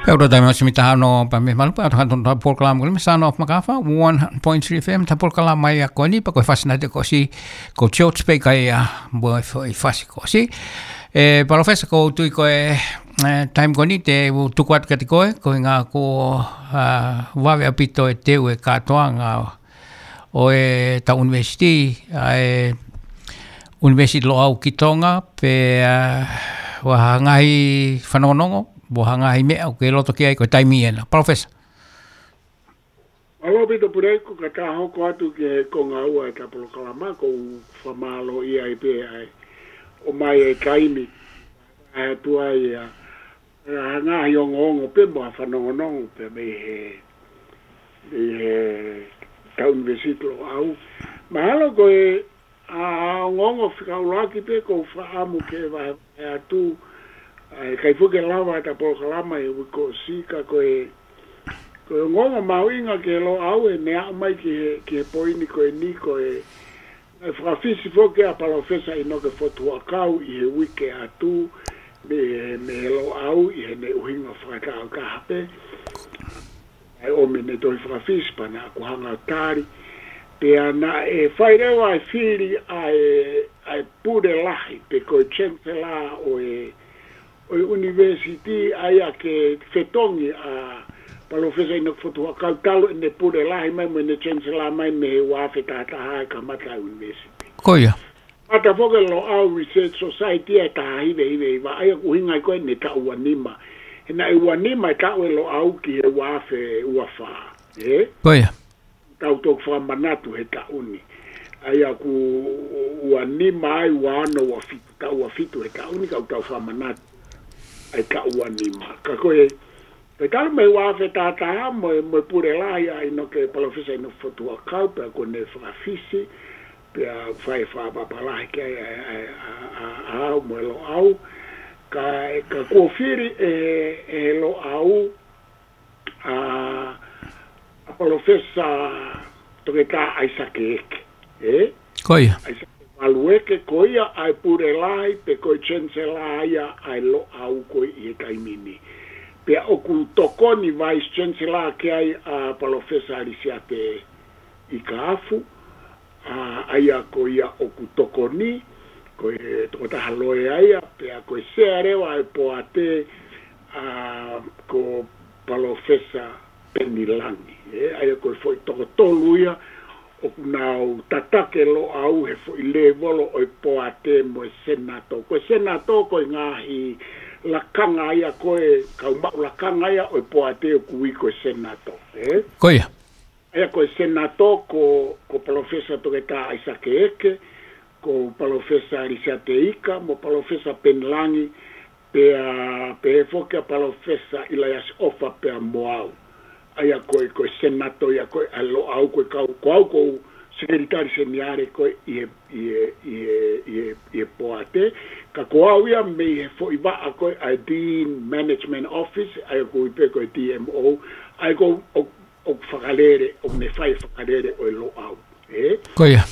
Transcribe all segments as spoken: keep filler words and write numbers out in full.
Pea ʻoku tau taimi ʻosi mita hano pa me malu pa atu hano ta polokalama ko le Sano of Makafa, one point three F M, ta polokalama ia ko eni pa ko e fasi na te ko si, ko George Baker ia, mo e fo-, e fasi ko si. E, Palōfesa, ko u tui ko e, e, taimi ko eni te u tuku atu kiate koe, ko e ʻuhinga ko, a, vave ʻaupito e teu e kātoanga ʻo e tau ʻunivēsiti, ʻa e ʻUnivēsiti Loʻau ki Tonga, pea, a, ʻoku ʻi ai ha ngaahi fanongonongo, mo ha ngaahi meʻa ʻoku ke loto ki ai ko e taimi ena. Palōfesa. Mālō ʻaupito Puleiku, ka ta hoko atu ki he konga ua e ta polokalama, ko u fakamālō ia ai pē ai. ʻOmai e taimi, ʻa e tuai a, ʻa e ngaahi ongoongo pē mo ha fanongonongo pē mei he, mei he tau ʻUnivēsiti Loʻau. Mahalo ko e, a, ongoongo fika ʻuluaki pē ko u fakaʻamu ke vahevahe atu, ʻa e ʻikai foki ke lava ʻeta polokalama ʻi he uike kuo ʻosi ka ko e, ko e ongoongo mahuʻinga ki he Loʻau ʻene aʻu mai ki he, ki he poini ko eni ko e, ʻa e fakafisi foki ʻa Palōfesa ʻInoke Fotu Huʻakau ʻi he uike atu, mei he, mei he Loʻau ʻi heʻene ʻuhinga fakatāutaha pē. ʻA e ʻomi ʻene tohi fakafisi pea naʻa ku hanga ʻo tali. Pea naʻe fai leva e fili ʻa e, ʻa e pule lahi, pe ko e Chancellor ʻo e, ʻo e ʻunivēsiti, ʻa ia ke fetongi ʻa Palōfesa ʻInoke Fotu Huʻakau talu ʻene pule lahi mai mo ʻene Chancellor mai mei he ua afe taha taha ʻa e kamata e ʻunivēsiti. Ko ia. Kamata foki e Loʻau Research Society ʻi he taha hiva hiva hiva, ʻa ia ʻoku ʻuhinga ai ko ē ʻene taʻu ua nima. He naʻe ua nima e taʻu e Loʻau ki he ua afe ua fā. Ē? Ko ia. Tau toki fakamanatu he taʻu ni. ʻA ia ʻoku ua nima ai, ua ono, ua fitu, taʻu ua fitu he taʻu ni, ka ʻoku tau fakamanatu ai taʻu ua nima. Ka ko e, ko e talu mei he ua afe taha taha mo e, mo e pule lahi ʻa ʻInoke, Palōfesa ʻInoke Fotu Huʻakau, pea ko ʻene fakafisi, pea fai e fakapapālangi ki ai ʻa e, ʻa e, ʻa e, ʻa e, ʻa e, ʻa e, mo e Loʻau, ka, ka kuo fili ʻe, ʻe Loʻau, ʻa, ʻa Palōfesa Toketā ʻAisake Eke, ē? Ko ia. ʻAisake Malueke, ko ia ʻa e pule lahi, pe ko e Chancellor ia ʻa e Loʻau ko ē ʻi he taimi ni. Pea ʻoku tokoni Vice Chancellor ki ai ʻa Palōfesa Lisiate Ikaafu, ʻa, ʻa ia ko ia ʻoku tokoni, ko e tokotaha loea ia, pea ko e sea leva e poate, ʻa, ko Palōfesa Peni Langi. Ē, ʻa ia ko e foʻi toko tolu ia, ʻoku nau tataki e Loʻau he foʻi lēvolo ʻo e poate mo e senato. Ko e senato ko e ngaahi lakanga ia ko e kau maʻu lakanga ia ʻo e poate ʻoku ui ko e senato. Ē? Ko ia. ʻA ia ko e senato ko, ko Palōfesa Toketā ʻAisake Eke, ko Palōfesa Lisiate Ika, mo Palōfesa Peni Langi, pea, pea foki ʻa Palōfesa ʻIlaiasi ʻOfa pea mo au. ʻA ia ko e, ko e senato ia ko ē ʻa Loʻau ko e kau, ko au ko e sekelitali seniale ko ē ʻi he, ʻi he, ʻi he, ʻi he, ʻi he poate. Ka ko au ia mei he foʻi vaʻa ko ē ʻa e Dean Management Office, ʻa ia ko e pē ko e D M O, ʻa ia ko, ʻo, ʻo fakalele, ʻo ne fai fakalele ʻo e Loʻau. Ē? Ko ia.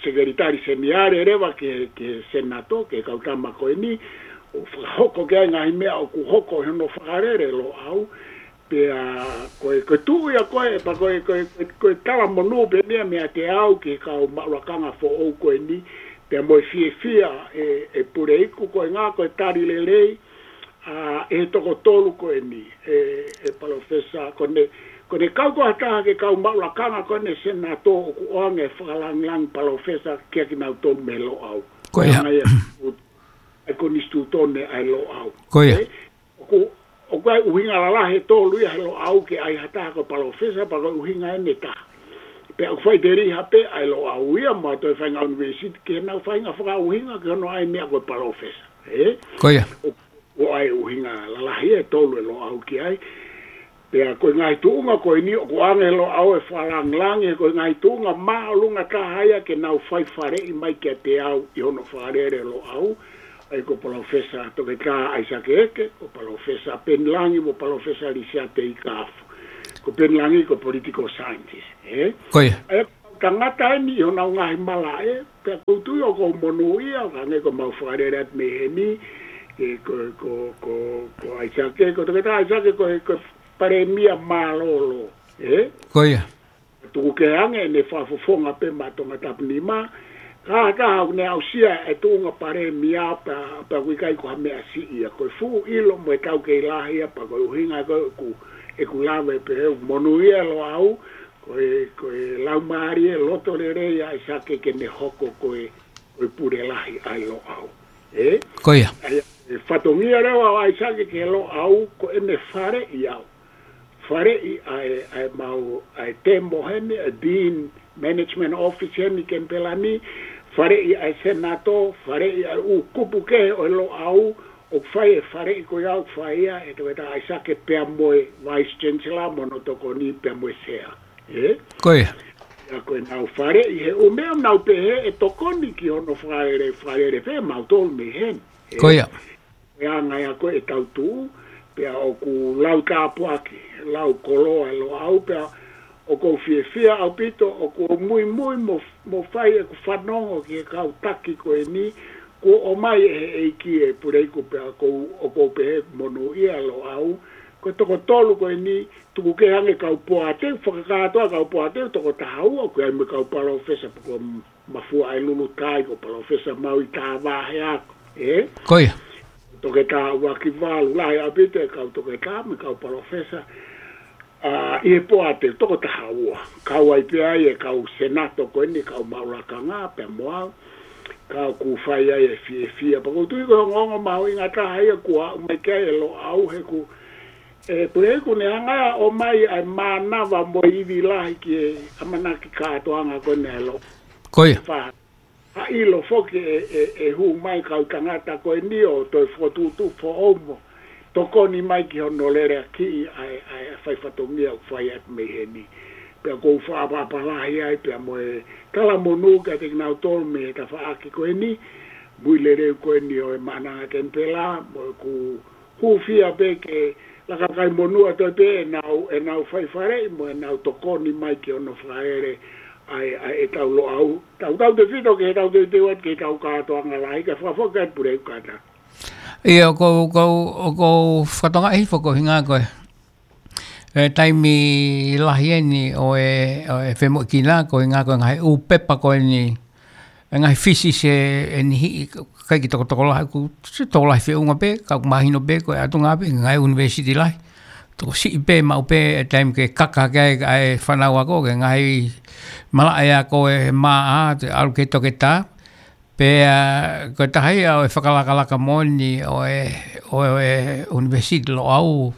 Sekelitali seniale leva ki he, ki he senato, ki he kau tama ko eni, ʻo fakahoko ki ai ngaahi meʻa ʻoku hoko he hono fakalele Loʻau, pea ko e, ko e tuʻu ia ko ē, pea ko e, ko e, ko e, ko e tala monū pē meʻa meiate au ki he kau maʻu lakanga foʻou ko eni, pea mo e fiefia ē, ē Puleiku ko e ʻuhinga ko e tali lelei, ʻa, ʻe he toko tolu ko eni, ē, ē Palōfesa, ko ʻene, ko ʻene kau ko ha taha ki he kau maʻu lakanga ko eni senato ʻoku ʻoange e fakalāngilangi Palōfesa kiate kinautolu mei Loʻau. Ko ia. Hanga ia, ʻa e konisitūtone ʻa e Loʻau. Ko ia. Ē, ʻoku, ʻoku ʻi ai e ʻuhinga lalahi ʻe tolu ia he Loʻau ke ʻi ai ha taha ko e Palōfesa, pea ko e ʻuhinga eni ʻe taha. Pea ʻoku faʻiteliha pē ʻa e Loʻau ia mo e toe faʻahinga ʻunivēsiti ke nau faʻahinga fakaʻuhinga ki hono ʻai e meʻa ko e Palōfesa. Ē? Ko ia. ʻO, ʻoku ʻi ai e ʻuhinga lalahi ʻe tolu e Loʻau ki ai. Pea ko e ngaahi tuʻunga ko eni ʻoku ʻoange ʻe Loʻau e fakalāngilangi, ko e ngaahi tuʻunga māʻolunga taha ia ke nau fai faleʻi mai kiate au ʻi hono fakalele Loʻau, ʻa ia ko Palōfesa Toketā ʻAisake Eke, ko Palōfesa Peni Langi, mo Palōfesa Lisiate Ikaafu. Ko Peni Langi ko e political scientist, ē? Ko ia. ʻA ia ko e tangata eni ʻi honau ngaahi malaʻe, pea ʻoku ou tui ʻoku ou monūʻia, ʻo hangē ko ʻemau fakalele atu mei heni, Ko, ko, ko, ko ʻAisake, ko Toketā ʻAisake, ko, ko e palēmia mālōlō. Ē? Ko ia. Tuku kehe ange ʻene fakafofonga pē maʻa Tongatapu nima. Ka, ka ʻoku ne aʻusia e tuʻunga palēmia pea, pea ʻoku ʻikai ko ha meʻa siʻi ia. Ko e fuʻu ʻilo mo e taukei lahi ia pea ko e ʻuhinga ko ē ʻoku, ʻeku lave pē he monūʻia Loʻau, ko e, ko e laumālie loto lelei ʻa ʻAisake ke ne hoko ko e, ko e pule lahi ʻa e Loʻau. Ē? Ko ia. ʻA ia, e fatongia leva ʻo ʻAisake ki he Loʻau, ko ʻene faleʻi au. Faleʻi ʻa e, ʻa e mau, ʻa e temo heni, ʻa e Dean Management Office heni Kenipela ni, faleʻi ʻa e Senato, faleʻi ʻa e ʻū kupu kehe ʻo e Loʻau, ʻoku fai e faleʻi ko ia ʻoku fai ia ʻe Toketā ʻAisake pea mo e Vice Chancellor mo hono tokoni pea mo e Sea. Ē? Ko ia. ʻA ia ko ʻenau faleʻi he ʻū meʻa ʻoku nau pehē ʻe tokoni ki hono fakalele, fakalele pē mautolu mei heni. Ē? Ko ia. Ko e anga ia ko ē ʻetau tuʻu, pea ʻoku lau tāpuaki, lau koloa e Loʻau, pea ʻoku ou fiefia ʻaupito, ʻoku ou muimui mo, mo fai ʻeku fanongo ki he kau taki ko eni, kuo ʻomai ʻe he ʻEiki e puleiku pea ʻoku ou, ʻoku ou pehē monūʻia Loʻau, ko e toko tolu ko eni, tuku kehe ange kau poate, fakakātoa kau poate, toko taha ua, ʻoku ʻi ai mo e kau palōfesa, pea ko Mafuaʻelulutai, ko Palōfesa Maui Tāvāhea, ē? Ko ia. Toketā ʻUakivalu, lahi ʻaupito e kau toketā mo e kau palōfesa, ʻa, ʻi he poate toko taha ua. Kau ai pē ai e kau Senato ko eni, kau maʻu lakanga, pea mo au. Ka ʻoku fai ai e fiefia. Pea ʻoku ou tui ko e ongoongo mahuʻinga taha ia kuo aʻu mai ki ai e Loʻau he ʻoku, e, puleiku ne hanga ʻo ʻomai ʻa e mānava mo e ivi lahi ki he ʻamanaki kātoanga ko eni ʻa e Loʻau. Ko ia. Fa-, ha ʻilo foki ʻe, ʻe, ʻe hū mai kau tangata ko eni ʻo toe fokotuʻutuʻu foʻou mo tokoni mai ki hono leleakiʻi ʻa e, ʻa e fai fatongia ʻoku fai atu mei heni. Pea ʻoku ou fakaʻapaʻapa lahi ai, pea mo e talamonū kiate kinautolu mei he tafaʻaki ko eni, mui lelei ko eni ʻo e Maʻananga Kenipela, mo ʻeku hūfia pē ke laka kai monū atu pē ʻenau, ʻenau fai faleʻi mo ʻenau tokoni mai ki hono fakalele ʻa e, ʻa e ʻetau Loʻau. Tautautefito ki heʻetau teuteu atu ki heʻetau kātoanga lahi, kae fakafoki atu pule kātaki. ʻIo, ʻoku ou, ʻoku ou, ʻoku ou fakatokangaʻi foki ko e ʻuhinga ko e, e taimi lahi eni ʻo e, ʻo e femoʻuekina, ko e ʻuhinga ko e ngaahi ʻū pepa ko eni, e ngaahi thesis ʻe, ʻe niʻihi, ʻikai ke tokotokolahi, ʻoku tokolahi feʻunga pē, ka ʻoku mahino pē, ko e ʻatunga pē, ngaahi university lahi. Tokosiʻi pē, maʻu pē, e taimi ke kaka ki ai, ʻa e fānau ako, ki he ngaahi malaʻe ako ʻe maʻa, te ʻalu ki he toketā. Pea, ko e taha ia ʻo e fakalakalaka moʻoni ʻo e, ʻo e, ʻo e University Loʻau,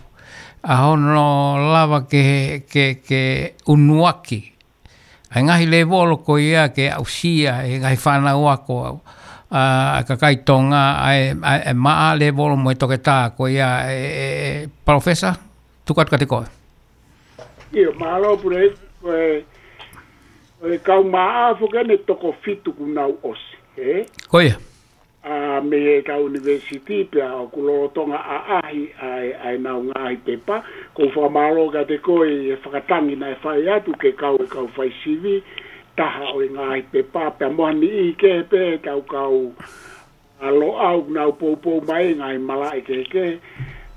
ʻa hono lava ke, ke, ke unuaki ʻa e ngaahi lēvolo ko ia ke aʻusia ʻe he ngaahi fānau ako, ʻa, ʻa e kakai Tonga, ʻa e, ʻa e, ʻa e maʻa lēvolo mo e toketā ko ia ʻe, ʻe, ʻe, Palōfesa, tuku atu kiate koe. ʻIo, mālō pule, ko e, ko e kau maʻa foki eni ʻe toko fitu kuo nau ʻosi, ē? Ko ia. ʻA, mei heʻetau university pea ʻoku lolotonga ʻaʻahi ʻa e, ʻa ʻenau ngaahi pepa. ʻOku ou fakamālō kiate koe ʻi he fakatangi naʻe fai atu ke kau e kau fai sivi, taha ʻo e ngaahi pepa, pea mo ha niʻihi kehe pē ʻetau kau, ʻa, Loʻau ʻoku nau poupou mai ngaahi malaʻe kehekehe.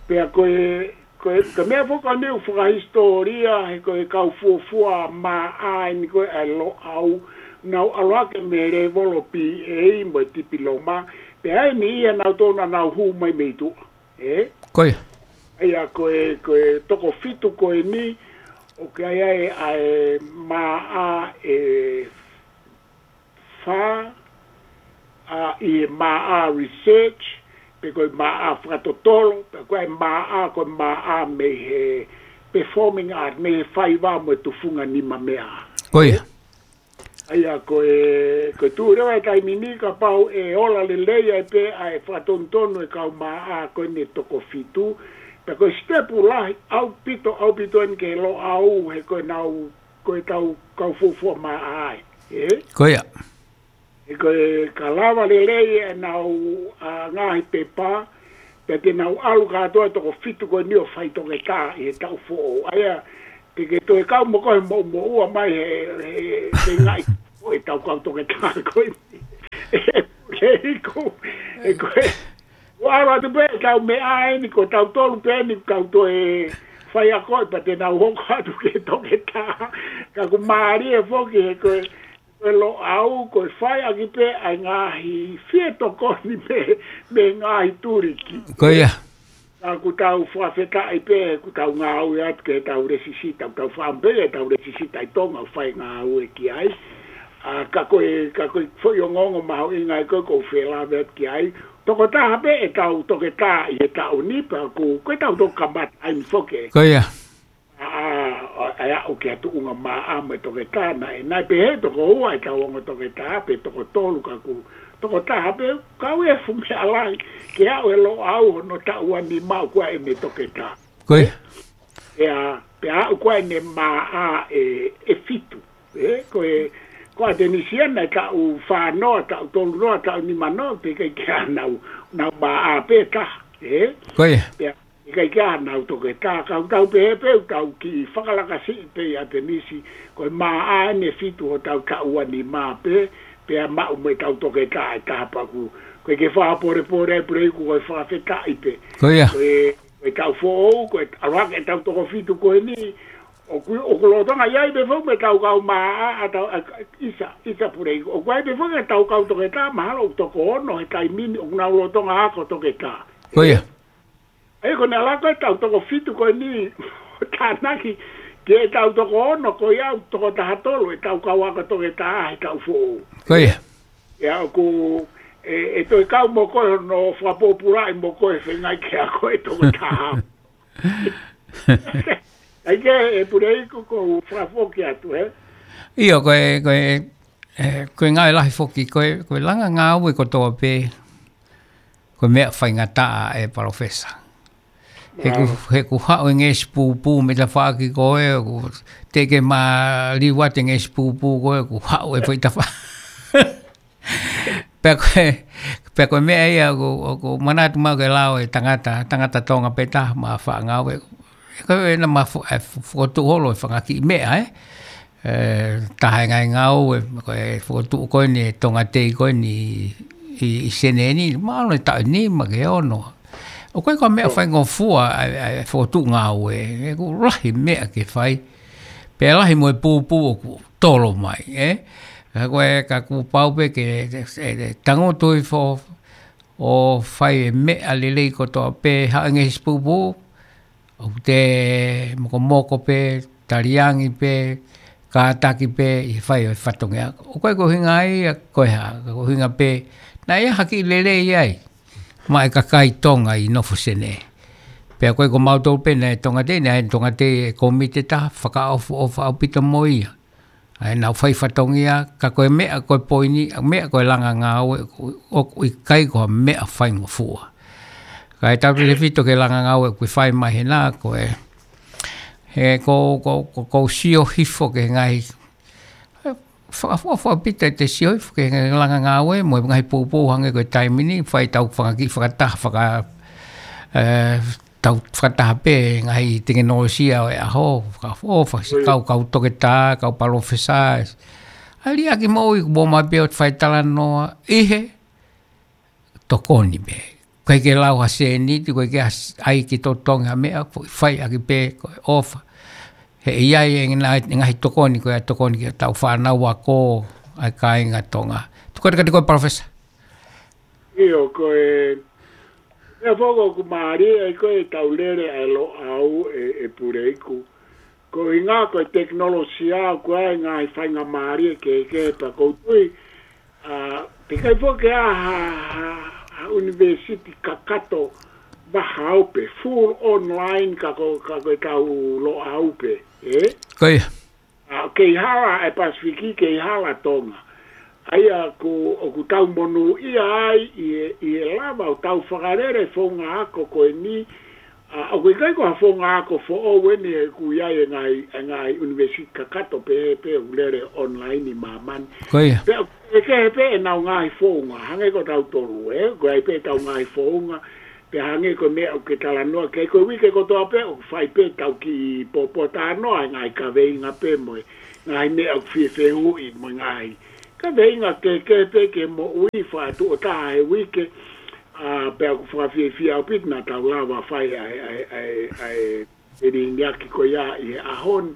Pea ko e, ko e, ko e meʻa foki eni ʻoku fakahisitōlia, he ko e kau fuofua maʻa eni ko ē ʻa e Loʻau, nau ʻalu hake mei he lēvolo B A mo e tipiloma, pea ʻi ai e niʻihi ʻanautolu naʻa nau hū mai mei tuʻa, ē? Ko ia. ʻA ia ko e, ko e toko fitu ko eni, ʻoku ʻi ai ʻa e maʻa ʻe fā, ʻa, ʻi he maʻa research, pe ko e maʻa fakatotolo, pe ko e maʻa, ko e maʻa mei he performing art, mei he faiva mo e tufunga nimameaʻa. Ko ia. ʻA ia ko e, ko e tuʻu leva e taimi ni kapau ʻe ola lelei ai pē ʻa e fakatonutonu e kau maʻa ko eni ʻe toko fitu, pea ko e sitepu lahi ʻaupito, ʻaupito eni ki he Loʻau, he ko ʻenau, ko ʻetau kau fuofua maʻa ai, ē? Ko ia. He ko e ka lava lelei ʻenau, ʻa, ngaahi pepa, pea te nau ʻalu kātoa e toko fitu ko eni ʻo fai toketā ʻi he taʻu foʻou. ʻA ia, te ke toe kau mo koe mo, moʻua mai he, he, he ngaahi ʻo ʻetau kau toketā ko eni. ʻE, ʻe, ʻe, ko, ʻe, ko e, ʻAlu atu pē ʻetau meʻa eni, ko tautolu pē eni, kau toe fai ako, pea te nau hoko atu ki he toketā. Ka ʻoku mālie foki he ko e, ko e Loʻau, ko e fai ʻaki pē ʻa e ngaahi fie tokoni mei, mei he ngaahi tuliki. Ko ia. Ka ʻoku tau fakafetaʻi pē, ʻoku tau ngāue atu ki heʻetau lēsisita, ʻoku tau fakaʻamu pē ʻetau lēsisita ʻi Tonga ʻo fai ngāue ki ai. ʻA, ka ko e, ka ko e foʻi ongoongo mahuʻinga ia ko ē ʻoku ou felāveʻi atu ki ai. Tokotaha pē ʻetau toketā ʻi he taʻu ni pea ʻoku, ko ʻetau toki kamata ai ni foki. Ko ia. ʻA, ʻa, ʻa, ʻa, ʻoku ke atu unga mā ʻa mo e toketā naʻe, naʻe pehē toko ua ʻetau ongo toketā, pe toko tolu ka ʻoku, tokotaha pē, kau e fuʻu meʻa lahi, ke aʻu e Loʻau hono taʻu ua nima ʻoku ʻi ai ʻene toketā. Ko ia. Pea, pea aʻu ko ē ʻene mā ʻa ʻe, ʻe fitu. ʻE, ko e, ko ʻAtenisi ia naʻe taʻu fā noa, taʻu tolu noa, taʻu nima noa, pea ʻikai ke ʻi ai hanau, nau mā ʻa pē taha, ʻe? Ko ia. Pea, ʻikai ke ʻi ai hanau toketā, ka ʻoku tau pehē pē, ʻoku tau kiʻi fakalakasiʻi pē ʻi ʻAtenisi, ko e mā ʻa ʻene fitu hotau taʻu ua nima pē, pea maʻu mo ʻetau toketā ʻe taha pea ʻoku, ko e ke fakapolepole ai Puleiku ko e fakafetaʻi pē. Ko ia. Ko e, ko e taʻu foʻou, ko e ʻalu hake ʻetau toko fitu ko eni, ʻoku, ʻoku lolotonga ʻi ai pē foki mo ʻetau kau mā ʻa, ʻa tau, ʻa, ʻisa, ʻisa Puleiku. ʻOku ʻi ai pē foki ʻetau kau toketā, mahalo ʻoku toko ono he taimi ni, ʻoku nau lolotonga ako toketā. Ko ia. ʻA ia ko e ʻalu hake ʻetau toko fitu ko eni, tānaki, ki heʻetau toko ono, ko ia ʻoku toko taha tolu, ʻetau kau ako toketā he taʻu foʻou. Ko ia. Ia ʻoku, ʻe, ʻe toe kau mo koe hono fakapōpulaʻi mo koe feinga ke ako e toketā. ʻAi ke ʻe Puleiku ʻoku ou fakafoki atu, ē? ʻIo, ko e, ko e, ʻe, ko e ngāue lahi foki, ko e, ko e langa ngāue kotoa pē, ko e meʻa faingataʻa ʻe Palōfesa. He ʻoku, he ʻoku haʻu e ngeʻesi pūpū mei tafaʻaki ko ē, ʻoku teʻeki ke maliu atu e ngeʻesi pūpū ko ē, ʻoku haʻu e foʻi tafa. Pea ko e, pea ko e meʻa ia ʻoku, ʻoku manatu mai ke lao e tangata, tangata Tonga pē taha mo e faʻa ngāue. Ko e na ma fo-, e fo-, fokotuʻu holo e fanga kiʻi meʻa, ē? ʻE, taha e ngaahi ngāue, ko e fokotuʻu ko eni e Tonga Tei ko eni ʻi, ʻi Senē ni, mahalo e taʻu nima ki he ono. ʻOku ʻikai ko ha meʻa faingofua ʻa e, ʻa e fokotuʻu ngāue, ʻoku lahi meʻa ke fai. Pea lahi mo e pūpū ʻoku tolo mai, ē? Ka ko e, ka kuo pau pē ke, e, e, e, tangutu hifo ʻo fai e meʻa lelei kotoa pē, haʻu e ngeʻesi pūpū, ʻoku te mokomoko pē, taliangi pē, kātaki pē, ʻi he fai ʻo e fatongia. ʻOku ʻikai ko e ʻuhinga ia, ko e hā, ko e ʻuhinga pē, naʻe ʻi ai ha kiʻi lelei ai. Maʻa e kakai Tonga ʻi nofo Senē. Pea ʻoku ʻikai ko mautolu pē naʻe Tonga Tei, naʻe Tonga Tei e kōmiti ʻe taha, fakaʻofoʻofa ʻaupito mo ia. ʻA ē naʻa nau fai fatongia, ka ko e meʻa ko e poini, meʻa ko e langa ngāue, ʻoku, ʻoku ʻikai ko ha meʻa faingofua. Ka ʻi he tautefito ki he langa ngāue ʻoku fai mai hena, ko e, he ko, ko, ko, ko sio hifo ki he ngaahi, fakaʻofoʻofa ʻaupito ʻete sio hifo ki he langa ngāue, mo e ngaahi pūpū hangē ko e taimi ni, fai ʻetau fanga kiʻi fakataha, faka, ē, tau fakataha pē ngaahi tekinolosia ʻo e ʻaho, fakaʻofoʻofa, si kau, kau toketā, kau palōfesa. ʻA e liʻaki moʻui ʻoku mou mai pē ʻo fai talanoa, ʻi he tokoni pē. ʻIkai ke lau ha sēniti, ʻikai ke ʻai ke totongi ha meʻa, foʻi fai ʻaki pē, ko e ʻofa. He ʻe ʻi ai e ngaahi, ngaahi tokoni, ko e tokoni ki heʻetau fānau ako, ʻa e kāinga Tonga. Tuku atu kiate koe Palōfesa. ʻIo, ko e, ʻe foko ʻoku mālie ai ko ē ʻetau lele ʻa e Loʻau ʻe, ʻe Puleiku. Ko e ʻuhinga ko e tekinolosia ʻoku ʻi ai e ngaahi faingamālie kehekehe pea ʻoku ou tui, ʻa, teʻeki ai foki ke ʻi ai ha, ha, ha ʻunivēsiti kakato vahaope, full online ka ko, ka ko ʻetau Loʻau pē, ē? Ko ia. ʻA, kei hala e Pasifiki, kei hala Tonga. ʻA ia ko, ʻoku tau monūʻia ai ʻi he, ʻi he lava ʻo tau fakalele founga ako ko eni, ʻa, ʻoku ʻikai ko ha founga ako foʻou eni he ʻoku ʻi ai e ngaahi, e ngaahi ʻunivēsiti kakato pē, pē ʻoku lele online ʻi māmani. Ko ia. Pea ʻoku kehekehe pē ʻenau ngaahi founga, hangē ko tautolu, ē? ʻOku ʻi ai pē ʻetau ngaahi founga, pea hangē ko e meʻa ʻoku ke talanoa ki ai, ko e uike kotoa pē ʻoku fai pē ʻetau kiʻi pōpōtalanoa, e ngaahi kaveinga pē mo e ngaahi meʻa ʻoku fie fehuʻi mo e ngaahi kaveinga kehekehe pē ki he moʻui, fā tuʻo taha he uike, ʻA, pea ʻoku fakafiefia ʻaupito naʻa tau lava fai ʻa e, ʻa e, ʻa e, ʻa e, e liniaki ko ia ʻi he ʻaho ni.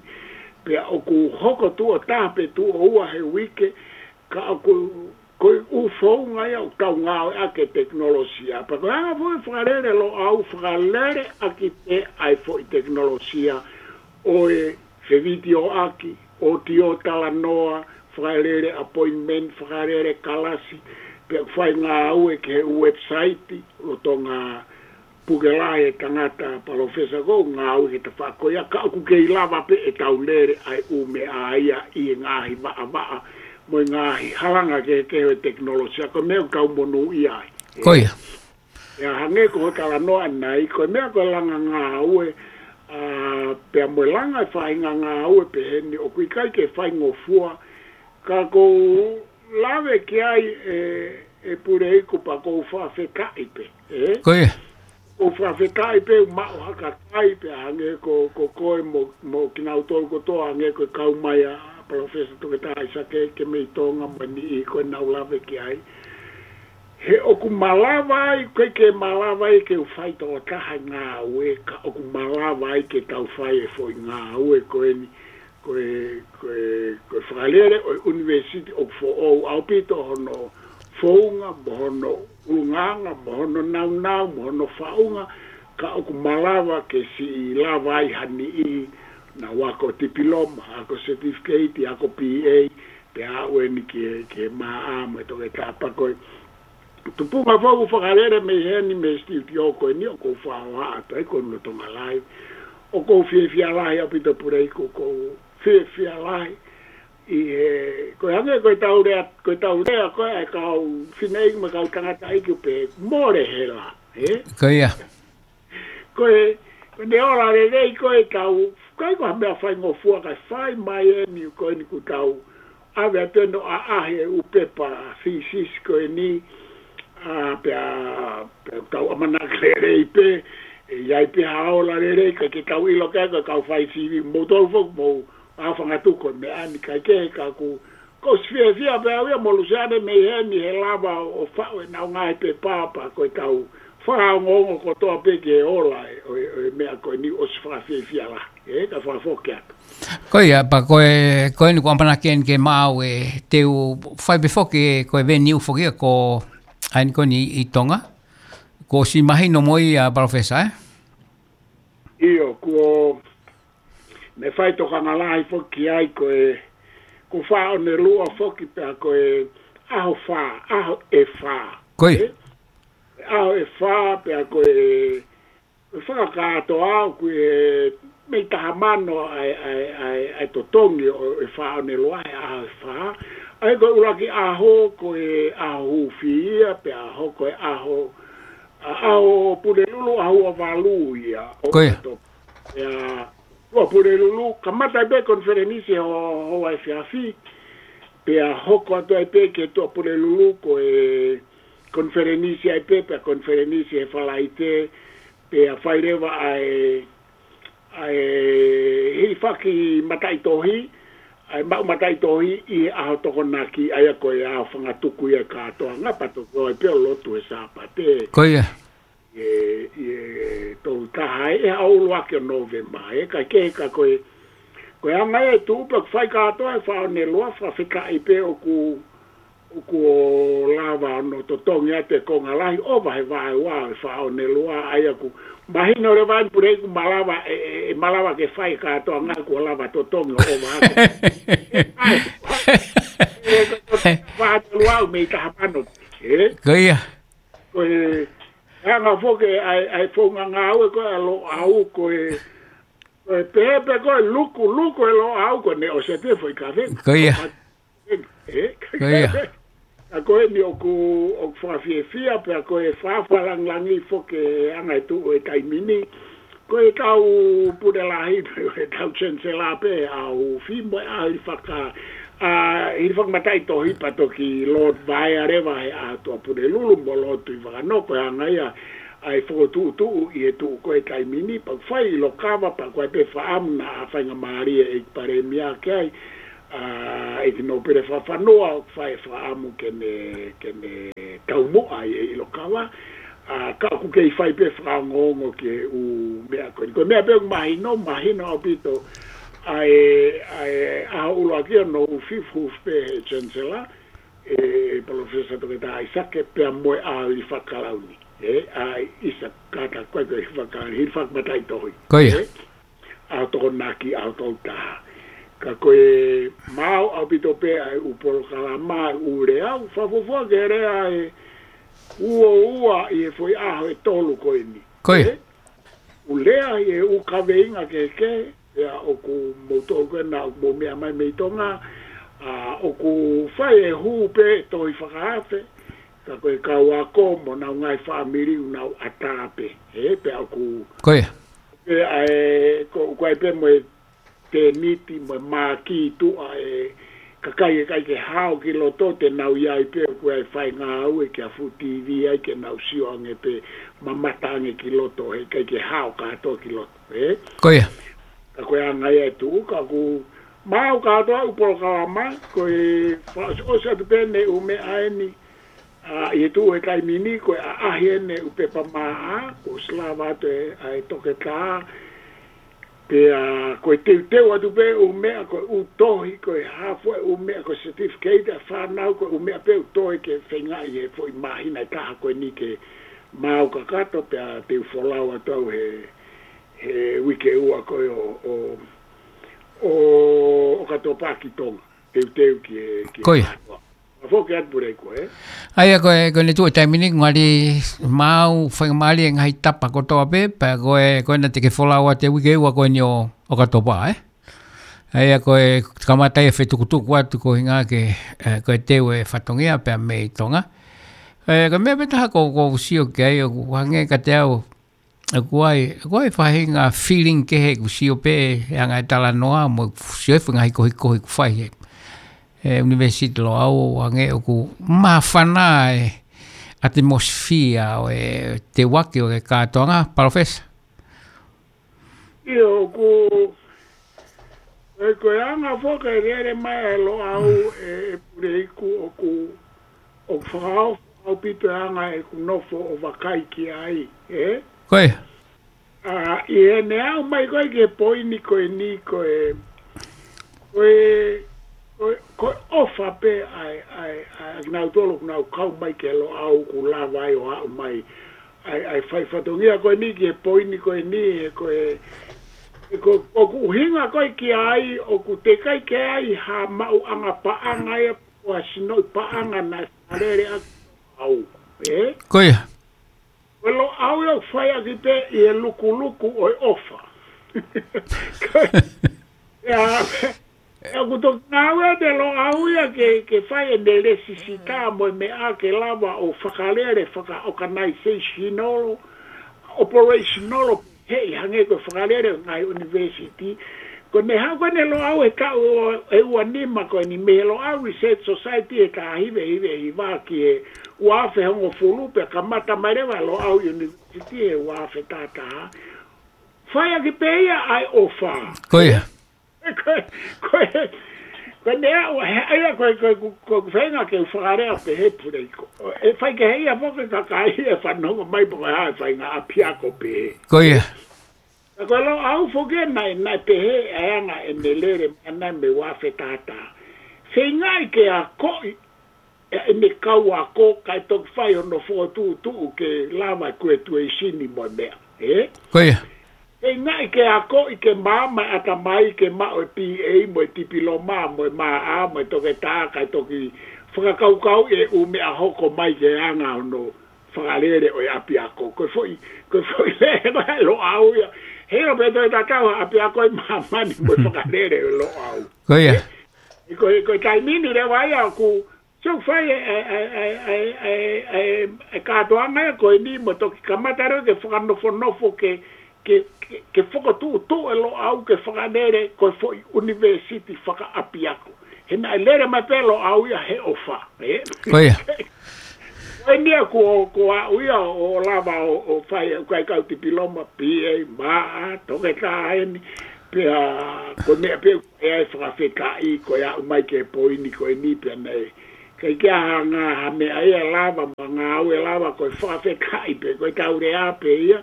Pea ʻoku hoko tuʻo taha pe tuʻo ua he uike, ka ʻoku, ko e ʻū founga ia ʻoku tau ngāueʻaki e tekinolosia. Pea ko e anga foʻi fakalele Loʻau, fakalele ʻaki pē ʻa e foʻi tekinolosia ʻo e fevitioʻaki, ʻōtiō talanoa, fakalele appointment, fakalele kalasi, pea fai ngāue ki he website, lolotonga puke lahi e tangata palōfesa ko ē ʻoku ngāue ki he tafaʻaki ko ia, ka ʻoku kei lava pē ʻetau lele ʻa e ʻū meʻa ia ʻi he ngaahi vaʻavaʻa, mo e ngaahi halanga kehekehe ʻo e tekinolosia, ko e meʻa ʻoku tau monūʻia ai. Ko ia. ʻIa, hangē ko hoʻo talanoa ʻanenai, ko e meʻa ko e langa ngāue, ʻa, pea mo e langa e faʻahinga ngāue pehē ni ʻoku ʻikai ke faingofua, ka ʻoku ou lave ki ai ʻe, ʻe Puleiku pea ʻoku ou fakafetaʻi pē, ē? Ko ia. ʻOku ou fakafetaʻi pē ʻoku maʻu ha kakai pea hangē ko, ko koe mo, mo kinautolu kotoa hangē ko e kau mai ʻa Palōfesa Toketā ʻAisake ke mei Tonga mo e niʻihi ko ē naʻa ku lave ki ai. He ʻoku malava ai, ʻikai ke malava ai ke u fai tokotaha e ngāue, ka ʻoku malava ai ke tau fai e foʻi ngāue ko eni, ko e, ko e, ko e fakalele ʻo e ʻunivēsiti ʻoku foʻou ʻaupito hono founga, mo hono ʻulungaanga, mo hono naunau, mo hono faʻunga, ka ʻoku malava ke siʻi lava ai ha niʻihi naʻa nau ako tipiloma, ako certificate, ako B A, pea aʻu eni ki he, ki he M A mo e toketā pea ko e tupunga foʻou fakalele mei heni mei he studio ko eni ʻoku ou fakahohaʻa atu ai ko eni lolotonga live. ʻOku ou fiefia lahi ʻaupito Puleiku, ʻoku ou fiefia lahi ʻi he, ko e hangē ko e tau lea, ko e tau lea ko ē ʻa e kau fineʻeiki mo e kau tangataʻeiki ʻoku pehē mole hela, ē? Ko ia. Ko e, ko e ne ola lelei ko e tau, ʻikai ko ha meʻa faingofua ka fai mai eni ko eni kuo tau ʻave atu eni ʻo ʻaʻahi e ʻū pepa thesis ko eni, ʻa, pea, pea tau ʻamanaki lelei pē, ʻe ʻi ai pē ha ola lelei, ʻikai ke tau ʻilo ke ko e kau fai sivi, moutolu foki mou ʻa fangatuku e meʻa ni ʻikai ke he ka ʻoku, ʻoku ou fiefia pē au ia mo Luseane mei heni he lava ʻo faʻu ʻenau ngaahi pepa pea ko e tau fakaongoongo kotoa pē ki he ola ʻo e, ʻo e meʻa ko eni ʻosi fakafiefia lahi, ē, ka fakafoki atu. Ko ia, pea ko e, ko eni kuo ʻamanaki eni ke maʻu e te u fai pē foki ko e venue foki ko eni ko eni ʻi Tonga. Kuo ʻosi mahino mo ia Palōfesa, ē? ʻIo, kuo ne fai tokanga lahi foki ai ko e, ko Faʻaonelua foki pea ko e ʻaho fā, ʻaho ʻe fā. Ko ia. Ē? ʻAho ʻe fā pea ko e, ko e fakakātoa ʻoku ʻi he mei taha mano ʻa e, ʻa e, ʻa e, ʻa e totongi ʻo e Faʻaonelua he ʻaho ʻe fā. ʻA ia ko e ʻuluaki ʻaho ko e ʻaho hūfia pea hoko e ʻaho, ʻa, ʻaho Pulelulu ʻaho ua valu ia ʻo Ko ia. ʻAotopi. Pea Tuʻapulelulu, kamata ai pē konifelenisi ho, hoʻo efiafi, pea hoko atu ai pē ki he Tuʻapulelulu ko e konifelenisi ai pē, pea konifelenisi he Falaite, pea fai leva ʻa e, ʻa e hilifaki mataʻitohi, ʻa e maʻu mataʻitohi ʻi he ʻaho Tokonaki, ʻa ia ko e ʻaho fangatuku ia e kātoanga, pea toki ō ai pē ʻo lotu he Sāpate. Ko ia. ʻI he, ʻi he tolu taha ē, ʻaho ʻuluaki ʻo Nōvema ē, ka ke ka ko e, ko e anga e tuʻu pē ʻoku fai kātoa e Faʻaonelua, fakafetaʻi pē ʻoku, ʻoku lava ʻo totongi atu e konga lahi ʻo ʻova he vaeua e Faʻaonelua, ʻa ia ʻoku mahino leva eni Puleiku ʻoku malava, ʻe, ʻe, ʻe malava ke fai kātoanga kuo lava totongi ʻo ʻova atu. ʻAi, ʻe, ko e Faʻaonelua ʻoku mei taha mano, ē? Ko ia. Ko e anga foki ʻa e, ʻa e founga ngāue ko ē ʻa Loʻau ko e, ko e pehē pē ko e luku, luku e Loʻau ko eni ʻosi ʻa e foʻi kaveinga. Ko ia. Ē? Ko ia. ʻA ko eni ʻoku, ʻoku fakafiefia pea ko e fakafakalāngilangi foki e anga e tuʻu e taimi ni. Ko e kau pule lahi, ko e kau Chancellor pē ʻa ʻUfi mo e ʻaho hilifaka, ʻa, hilifaki mataʻitohi pea toki lotu vaea leva he ʻaho Tuʻapulelulu mo lotu ʻi Vakanō, ko e anga ia ʻa e fokotuʻutuʻu ʻi he tuʻu ko ē taimi ni, pea fai ʻi Lokava, pea ko e pē fakaʻamu naʻa faingamālie e ʻEiki Palēmia ki ai, ʻa, ʻEiki Nōpele Fakafanua, ʻoku fai e fakaʻamu ke ne, ke ne taumuʻa ʻi, ʻi Lokava. ʻA, ka ʻoku kei fai pē fakaongoongo ki he ʻū meʻa ko eni. Ko e meʻa pē ʻoku mahino, mahino ʻaupito ʻa e, ʻa e ʻaho ʻuluaki ʻo hono ʻū fifth hoof pē he Chancellor, ʻe, ʻe Palōfesa Toketā ʻAisake pea mo e ʻaho hilifakalauni. ʻE, ʻa ʻIsa Kata ko e ko e hilifaka-, hilifaki mataʻitohi. Ko ia. ʻE, ʻa Tokonaki, ʻa Toketā. Ka ko e maau ʻaupito pē ʻa e ʻū polokalama, ʻū lea, ʻū fakafuofua ke lea ʻe ua ua ʻi he foʻi ʻaho ʻe tolu ko eni. Ko ia. ʻE, ʻū lea ʻi he ʻū kaveinga kehekehe, ʻa ia ʻoku mou toʻo ko ena, ʻoku mou meʻa mai mei Tonga, ʻa, ʻoku fai e hū pē tohi fakaafe, ka ko e kau ako mo honau ngaahi fāmili ʻoku nau ʻatā pē, ʻe, pea ʻoku Ko ia. Pea ʻa e, ko, ko e pē mo e tēniti mo e mākī tuʻa ʻa e kakai ʻe ʻikai ke hao ki loto te nau ʻi ai pē ʻoku ʻi ai e faingāue ke fuʻu T V ai ke nau sio ange pē mamata ange ki loto he ʻikai ke hao kātoa ki loto, ʻe? Ko ia. Ka ko e anga ia ʻe tuʻu, ka ʻoku maau kātoa ʻū polokalama, ko e fakaʻosiʻosi atu pē ʻeni ʻū meʻa ʻeni, ʻa, ʻi he tuʻu he taimi ni, ko e ʻaʻahi ʻeni ʻū pepa maʻa, ko e ʻosi lava atu ʻe, ʻa e Toketā, pea ko e teuteu atu pē ʻū meʻa, ko e ʻū tohi, ko e hā fua e ʻū meʻa, ko e certificate ʻa e fānau, ko e ʻū meʻa pē ʻū tohi ke feingaʻi he foʻi māhina ʻe taha ko eni ke maau kakato, pea te u folau atu au he, he uike ua ko ē ʻo, ʻo, ʻo, ʻOkatopa ki Tonga. Teuteu ki he, ki he Ko ia. Mātuʻa. Ka foki atu Puleiku, ʻe? ʻA ia ko e, ko ʻene tuʻu he taimi ni, ngali maau, faingamālie e ngaahi tapa kotoa pē, pea ko e, ko ena te ke folau atu he uike ua ko eni ʻo, ʻOkatopa, ʻe? ʻA ia ko e kamata e fetukutuku atu ko hinga ke, ʻe, ko e teu e fatongia pea mei Tonga. ʻE, ko e meʻa pē taha ko, ko u sio ki ai, ʻoku hangē kiate au, ʻoku ʻi ai, ʻoku ʻi ai faʻahinga feeling kehe ʻeku sio pē he anga e talanoa mo ʻeku sio he ngaahi kohikohi ʻoku fai he, he University Loʻau, hangē ʻoku māfana e atmosphere ʻo e teuaki ʻo e kātoanga, Palōfesa. ʻIo, ʻoku, ʻe, ko e anga foki e lele mai ʻa Loʻau ʻe, ʻe Puleiku ʻoku, ʻoku fakaofo ʻaupito e anga ʻeku nofo ʻo vakai ki ai, ʻe? Ko ia. ʻA, ʻi heʻene aʻu mai ko ē ki he poini ko eni ko e, ko e, ko e, ko e ʻofa pē ʻa e, ʻa e, ʻa e, ʻa kinautolu ʻoku nau kau mai ki he Loʻau ʻoku lava ai ʻo aʻu mai ʻa e, ʻa e fai fatongia ko eni ki he poini ko eni, he ko e, he ko, ʻoku ʻuhinga ko ē ki ai, ʻoku teʻeki ai ke ʻi ai ha maʻuʻanga paʻanga ia, ʻo ha sinoʻi paʻanga naʻe fakalele ʻaki ʻe Loʻau, ʻe? Ko ia. Ko Loʻau ia ʻoku fai ʻaki pē ʻi he lukuluku ʻo e ʻofa. Ko ia, ʻoku toki ngāue ʻa Loʻau ia ke, ke fai ʻene lēsisita mo e meʻa ke lava ʻo fakalele, faka-organizational, operational, he ʻi hangē ko e fakalele ʻo e ngaahi university. Ko ʻene haʻu ko eni ʻa Loʻau he taʻu ʻe ua nima ko eni mei he Loʻau Research Society he taha hiva hiva hiva ki he ua afe hongofulu pea kamata mai leva ʻa Loʻau University he ua afe taha taha. Fai ʻaki pē ia ʻa e ʻofa. Ko ia. Ko e, ko e, ko e meʻa, ʻa ia ko e, ko e, ko e, ko e feinga ke u fakalea pehē Puleiku. ʻE fai kehe ia foki e kakai ʻe fanongo mai pe ko e hā e faʻahinga ʻapiako pehē. Ko ia. Ka ko Loʻau foki ē naʻe, naʻe pehē ʻa e anga ʻene lele mai ʻana mei he ua afe taha taha. Feingaʻi ke akoʻi ʻe, ʻene kau ako kae toki fai hono fokotuʻutuʻu ke lava e kuetueisini mo e meʻa, ʻe? Ko ia. Feingaʻi ke akoʻi ke maama e ʻatamai ke maʻu e P A mo e tipiloma mo e maʻa mo e toketā kae toki fakakaukauʻi e ʻū meʻa hoko mai ke anga hono fakalele ʻo e ʻapiako. Ko e foʻi, ko e foʻi lele mai ʻa Loʻau ia. He ʻilo pē toe tatau ha ʻapiako ʻi māmani mo e fakalele ʻo Loʻau. Ko ia. ʻE, ko e, ko e taimi ni leva ia ʻoku, so fai e, e, e kātoanga ia ko eni mo toki kamata leva ke fakanofonofo ke, ke, ke, ke fokotuʻutuʻu e Loʻau ke fakalele ko e foʻi university fakaʻapiako. He naʻe lele mai pē Loʻau ia he ʻofa, ʻe? Ko ia. Ko eni ia ko, ko aʻu ia ʻo lava ʻo, ʻo fai, ʻo kai kau tipiloma, P A, maʻa, toketā eni, pea ko e meʻa pē ʻoku ʻi ai e fakafetaʻi, ko e aʻu mai ki he poini ko eni pea naʻe, ʻIkai ke ʻi ai ha ngaahi meʻa ia ʻe lava, mo e ngāue ʻe lava, ko e fakafetaʻi pē, ko ʻetau lea pē ia,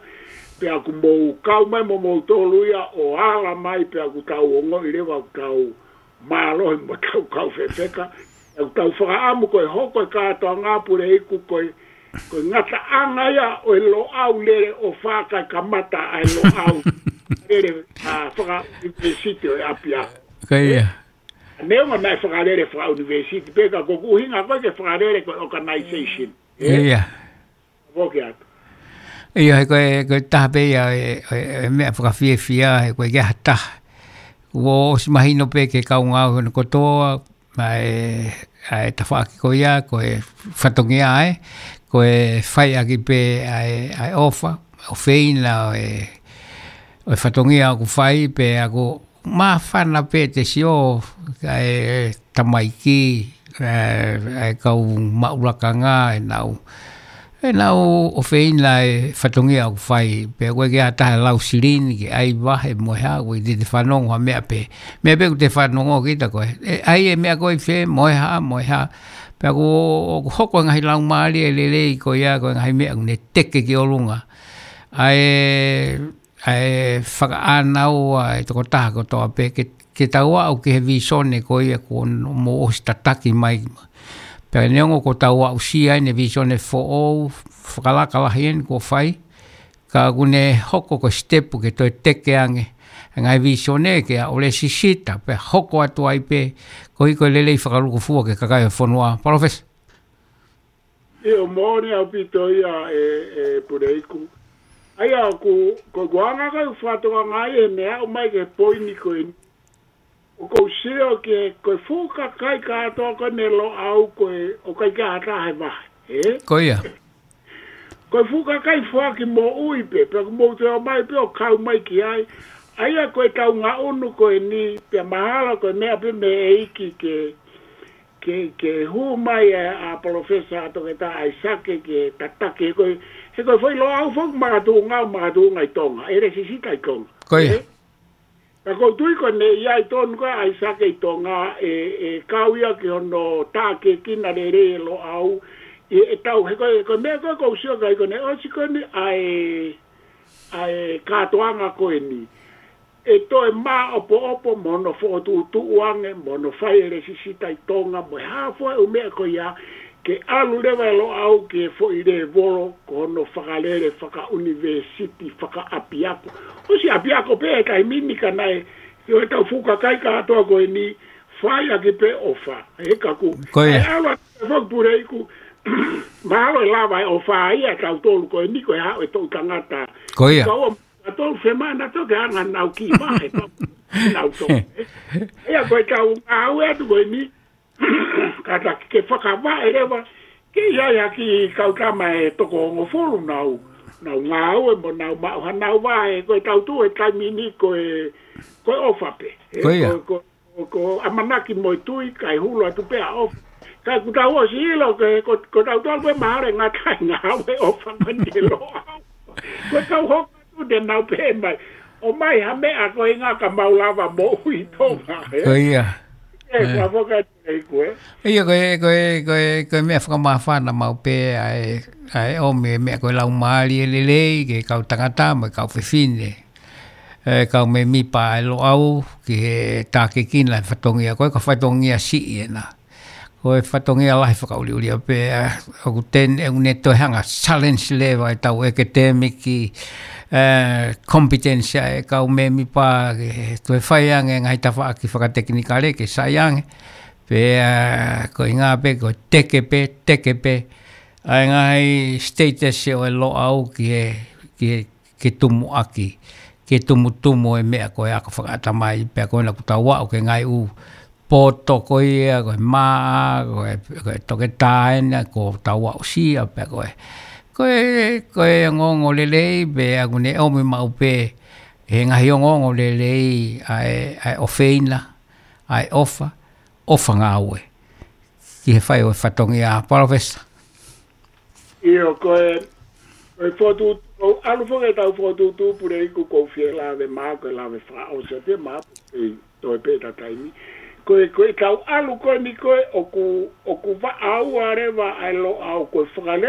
pea ʻoku mou kau mai mo moutolu ia ʻo ala mai, pea ʻoku tau ongoʻi leva ʻoku tau mālohi mo tau kau fefeka, ʻoku tau fakaʻamu ko e hoko e kātoanga Puleiku ko e, ko e ngataʻanga ia ʻo e Loʻau lele ʻo fakakamata ʻa e Loʻau lele, ʻa, fakaʻunivēsiti ʻo e ʻapiako. Ko ia. Neongo naʻe fakalele fakaʻunivēsiti pē ka ko ʻeku ʻuhinga ko ē ke fakalele ko e organization. Ia. Foki atu. Ia, he ko e, ko e taha pē ia, e, e, e meʻa fakafiefia, he ko e ke ha taha. Kuo ʻosi mahino pē ke kau ngāue hono kotoa, ʻa e, ʻa e tafaʻaki ko ia, ko e fatongia ē, ko e fai ʻaki pē ʻa e, ʻa e ʻofa, ʻofeina ʻo e, ʻo e fatongia ʻoku fai, pea ʻoku māfana pē te sio, ʻa e tamaiki, ʻa e, ʻa e kau maʻu lakanga, ʻenau, ʻenau ʻofeina e fatongia ʻoku fai, pea ʻoku ʻikai ke ʻi ai ha taha lau silini ke ʻai vahe mo e hā, ʻoku ʻikai te te fanongo ha meʻa pē. Meʻa pē ʻoku te fanongo kita ko e, ʻe, ʻai e meʻa ko ē ʻi fē, mo e hā, mo e hā. Pea ʻoku, ʻoku hoko e ngaahi laumālie lelei ko ia, ko e ngaahi meʻa ʻoku ne teke ki ʻolunga. ʻA e, ʻa e fakaʻānaua e tokotaha kotoa pē ke, ke tau aʻu ki he visone ko ia kuo mou ʻosi tataki mai. Pea neongo kuo tau aʻusia ʻene visone foʻou, fakalaka lahi eni kuo fai, ka ʻoku ne hoko ko e sitepu ke toe teke ange e ngaahi visone ke ʻalu lēsisita, pea hoko atu ai pē, koeʻuhi ko e lelei fakalūkufua ki he kakai ʻo e fonua. Palōfesa. ʻIo, moʻoni ʻaupito ia ē, ē Puleiku. ʻA ia ʻoku, ko ʻeku anga ko ē ʻeku fakatokangaʻi he meʻa aʻu mai ki he poini ko eni. ʻOku ou sio ki he, ko e fuʻu kakai kātoa ko eni ʻo e Loʻau ko ē, ʻoku ʻikai ke ʻi ai ha taha ʻe vahe, ē? Ko ia. Ko e fuʻu kakai foaki moʻui pē, pea ʻoku mou toe ō mai pē ʻo kau mai ki ai. ʻA ia ko ʻetau ngaʻunu ko eni, pea mahalo ko e meʻa pē mei he ʻEiki ke, ke, ke hū mai ʻa, ʻa Palōfesa Toketā ʻAisake ke tataki, he ko e, he ko e foʻi Loʻau foki makatuʻunga, makatuʻunga ʻi Tonga, ʻe lēsisita ʻi Tonga. Ko ia. Ē? Ka ʻoku ou tui ko ʻene ʻi ai tonu ko ē ʻa ʻAisake ʻi Tonga, ʻe, ʻe kau ia ki hono tākiekina lelei e Loʻau, ʻi heʻetau, he ko e, ko e meʻa ko ē ʻoku ou sio ki ai ko ʻene ʻosi ko eni ʻa e, ʻa e kātoanga ko eni. ʻE toe māʻopoʻopo mo hono fokotuʻutuʻu ange, mo hono fai e lēsisita ʻi Tonga, mo e hā fua e ʻū meʻa ko ia, ke ʻalu leva e Loʻau ki he foʻi lēvolo ko hono fakalele fakaʻunivēsiti fakaʻapiako. ʻOsi ʻapiako pē he taimi ni ka naʻe, ʻi heʻetau fuʻu kakai kātoa ko eni, fai ʻaki pē ʻofa. He ka ʻoku, Ko ia. ʻe ʻalu atu e foʻi Puleiku, mahalo ʻe lava e ʻofa ia ʻa tautolu ko eni ko e haʻu e toʻu tangata. Ko ia. Ka ua, ka tolu femana toke anga nau ki vahe, ka nau to. Ia ko ʻetau ngāue atu ko eni, kātaki ke fakavaʻe leva, ke ʻi ai ha kiʻi kau tama ʻe toko hongofulu nau, nau ngāue mo nau maʻu hanau vahe, ko ʻetau tuʻu he taimi ni ko e, ko e ʻofa pē. Ē, Ko ia. ko, ko, ko ʻamanaki mo e tui, kae hulu atu pē ʻa ʻofa. Ka ʻoku tau ʻosi ʻilo ke, ko, ko tautolu pē mahalo ʻe ngata ai ngāue ʻofa mani e Loʻau. Ko ʻetau hoko atu te nau pehē mai. ʻOmai ha meʻa ko e ngā ka mau lava moʻui ʻi Tonga, ē? Ko ia. Ē, Ē. ka foka atu e iku, ē? Ia, ko e, ko e, ko e, ko e meʻa fakamāfana maʻu pē ʻa e, ʻa e ʻomi e meʻa ko e laumālie lelei, ki he kau tangata, mo e kau fefine. ʻE, kau mēmipa ʻa e Loʻau, ki he tākiekina e fatongia, ko e ka fatongia siʻi ena. Ko e fatongia lahi fakaʻuliʻulia pē, ʻa, ʻoku ten, ʻoku ne toe hanga challenge leva ʻetau academic, ʻe, competence ʻa e kau mēmipa, ke toe fai ange ngaahi tafaʻaki fakatekinikale ke sai ange. Pea, ko e ʻuhinga pē, ko e teke pē, teke pē. ʻA e ngaahi status ʻo e Loʻau ki he, ki he, ke tumuʻaki, ke tumutumu e meʻa ko e ako fakaʻatamai, pea ko ena ʻoku tau aʻu ki he ngaahi ʻū poto ko ia, ko e maʻa, ko e, ko e toketā ena, ʻoku tau aʻusia, pea ko e, ko e, ko e ongoongo lelei, pea ʻoku ne ʻomi maʻu pē, he ngaahi ongoongo lelei, ʻa e, ʻa e ʻofeina, ʻa e ʻofa, ʻofa ngāue. Ki he fai ʻo e fatongia, Palōfesa. ʻIo, ko e, ko e fokotuʻu, ʻo ʻalu foki ʻetau fokotuʻutuʻu Puleiku ʻoku ou fie lave mai, ko e lave fakaʻosi atu ia mai, ʻe toe pē ʻeta taimi. ko e, ko e tau ʻalu ko eni ko e ʻoku, ʻoku vaʻa ua leva ʻa e Loʻau ko e fakale